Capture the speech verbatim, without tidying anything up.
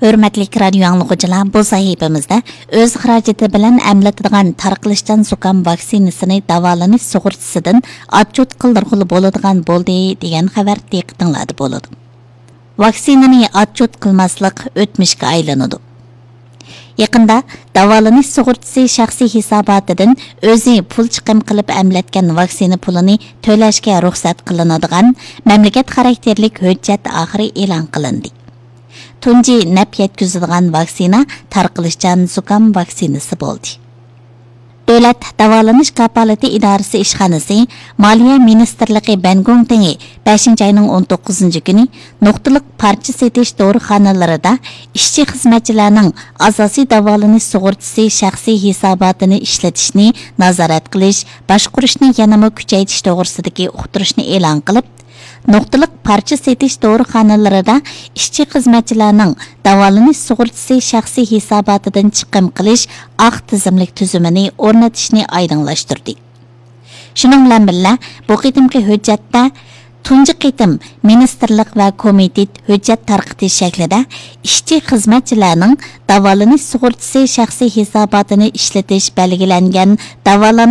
ھۆرمەتلىك رادىيو ئاڭلىغۇچىلار، بۇ سەھىپىمىزدە ئۆز خىراجىتى بىلەن ئەملىتىدىغان تارقىلىشچان زۇكام ۋاكسىنىسىنى داۋالىنىش سۇغۇرتىسىدىن ئاتچوت قىلدۇرغىلى بولىدىغان بولدى دېگەن خەۋەر دىققىتىڭلاردا بولىدۇ. ۋاكسىنىنى ئاتچوت قىلماسلىق ئۆتمۈشكە ئايلىنىدۇ. يېقىندا داۋالىنىش سۇغۇرتىسى شەخسىي ھېساباتىدىن ئۆزى پۇل چىقىم قىلىپ ئەملەتكەن ۋاكسىنا پۇلىنى تۆلەشكە رۇخسەت قىلىنىدىغان مەملىكەت خاراكتېرلىك ھۆججەت ئاخىرى ئېلان قىلىندى. تۇنجى نەپ يەتكۈزىدىغان ۋاكسىنا تارقىلىشچان زۇكام ۋاكسىنىسى بولدى. دۆلەت داۋالىنىش كاپالىتى ئىدارىسى ئىشخانىسى مالىيە مىنىستىرلىقى بەنگوڭتېڭى بەشىنچى ئاينىڭ ئون توققۇزىنچى كۈنى نۇقتىلىق پارچە سېتىش دورىخانىلىرىدا ئىشچى خىزمەتچىلەرنىڭ ئاساسىي داۋالىنىش سۇغۇرتىسى شەخسىي ھېساباتىنى ئىشلىتىشنى نازارەت قىلىش، باشقۇرۇشنى يەنىمۇ كۈچەيتىش توغرىسىدىكى ئۇقتۇرۇشنى ئېلان قىلىپ، نۇقتىلىق پارچە سېتىش دورىخانىلىرىدا ئىشچى خىزمەتچىلەرنىڭ داۋالىنىش سۇغۇرتىسى شەخسىي ھېساباتىدىن چىقىم قىلىش ئاق تىزىملىك تۈزۈمىنى ئورنىتىشنى ئايدىڭلاشتۇردى. شۇنىڭ بىلەن بىللە، بۇ قېتىمقى ھۆججەتتە تۇنجى قېتىم مىنىستىرلىق ۋە كومىتېت ھۆججەت تارقىتىش شەكلىدە ئىشچى خىزمەتچىلەرنىڭ داۋالىنىش سۇغۇرتىسى شەخسىي ھېساباتىنى ئىشلىتىش بەلگىلەنگەن داۋالىنىش